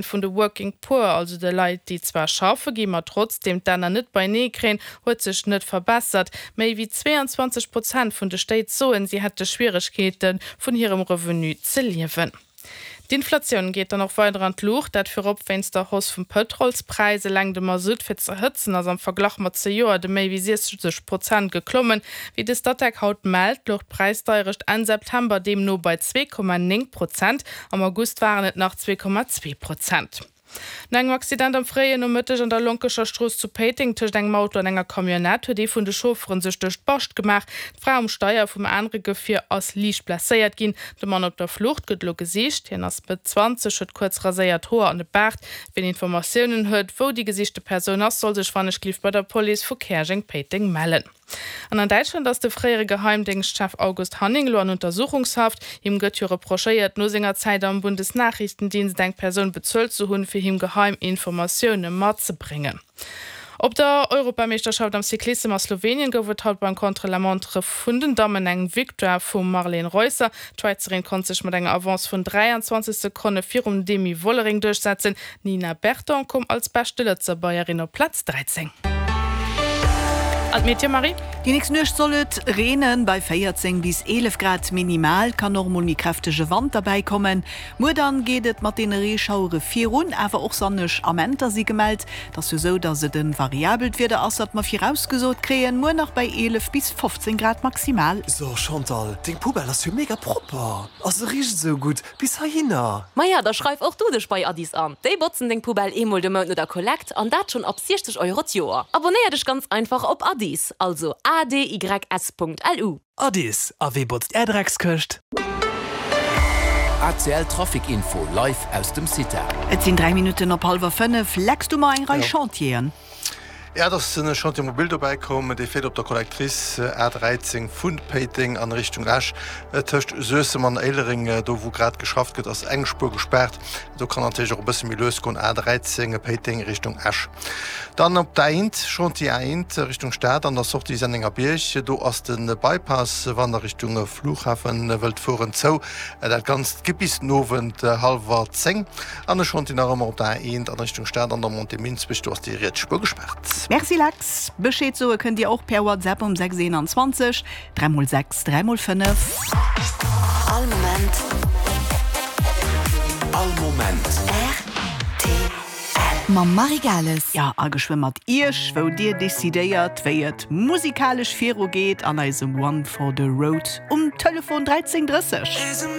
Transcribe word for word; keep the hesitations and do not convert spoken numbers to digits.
vun de Working Poor, also de Leit, déi zwar schaffe ginn, ma trotzdeem d'Enner net beienee kréien, huet sech net verbessert. Méi wéi zweeanzwanzeg Prozent vun de Stéit soen, si hätte Schwieregkeeten, vun hirem Revenu ze liewen. D'Inflatioun geet dann och weider an d'Luucht, dat virop wéinst der Hausse vum Pëtrolspräis. Eleng de Masutt fir ze hëtzen ass am Verglach mat zejoert ëm méi wéi siechzeg Prozent geklommen. Wéi de Statec haut mellt, louch d'Präisdeierecht Enn September deemno bei zwee Komma néng Prozent, am August waren et nach zwee Komma zwee Prozent. No engem Accident am fréien Nomëtteg an der Lonkecher Strooss zu Péiteng tëscht engem Auto an enger Camionnette huet ee vun de Chauffere sech duerch d'Bascht gemaach. D'Fra um Steier vum anere Gefier ass liicht blesséiert ginn. De Mann op der Flucht gëtt elo gesicht. Hien ass Mëtt zwanzeg, huet kuerz raséiert Hoer an e Baart. Wien Informatiounen huet, wou déi gesichte Persoun ass, soll sech wannechgelift bei der Police vu Käerjeng-Péiteng mellen. An an Däitschland ass de fréiere Geheimdéngschtchef August Hanning elo an Untersuchungshaft. Him gëtt jo reprochéiert, no senger Zäit am Bundesnachrichtendienst eng Persoun bezuelt ze hunn, fir him geheim Informatioune matzebréngen. Op der Europameeschterschaft am Cyclissem a Slowenien gouf et haut beim Contre-la-montre vun den Dammen eng Victoire vum Marlene Reusser. D'Schwäizerin konnt sech mat enger Avance vun dräianzwanzeg Sekonne virum Demi Vollering duerchsetzen. D'Nina Berton koum als beschte Lëtzebuergerin op Plaz dräizéng. An d'Meteo, Marie? Déi nächst Nuecht soll et reenen, bei véierzéng bis eelef Grad minimal kann och mol méi kräftege Wand derbäi kommen. Muer dann geet et mat deene Reeschauere virun, awer och sonneg Amenter si gemellt. Et ass jo sou, dass et e variabelt Wieder ass, wat mer virausgesot kréien, muer nach bei eelef bis fofzéng Grad maximal. So Chantal, deng Poubelle ass jo mega propper a se richt esou gutt bis heihinner. Maja, da schreif och du dech bei Addis an. Déi botzen deng Poubelle eemol de Mount no der Kollekt an dat schonn ab siechzeg Euro d'Joer. Abonéier dech ganz einfach op Addis, also A D Y S Punkt L U. Addis, a wee botzt är Dreckskëscht? A C L Trafic Info live aus dem CITA. Et sinn dräi Minutten op hallwer fënnef. Lex, du mar eng Rei Chantieren. Jo, et ass en Chantier mobile dobäi komm, dee fiert op der Collectrice A dräizéng vu Péiteng an Richtung Esch. Tëscht Suessem an Éilereng, do wou grad geschafft gëtt, ass eng Spuer gespaart. Do kann natierlech och e bësse méi lues goen, A dräizéng, Péiteng Richtung Esch. Dann op der A eent, Chantier A eent Richtung Stad an der Sortie Sennengerbierg, do ass de Bypass, wann der Richtung Flughafen wëllt fueren, zou. Dat Ganzt geet bis den Owend hallwer zéng. An e Chantier nach ëmmer op der A eent an Richtung Stad an der Montée Minsbech, do ass déi riets Spuer gespaart. Merci Lex. Bescheed soe kënnt Dir och per WhatsApp um sechs eenanzwanzeg dräi mol sechs dräi mol fënnef. All Moment. All Moment. R T L. Mam Marie Gales. Jo, a geschwë mat Iech, wou Dir decidéiert, wéi et musikalesch virugeet an eisem One for the Road um Telefon dräizéng drësseg.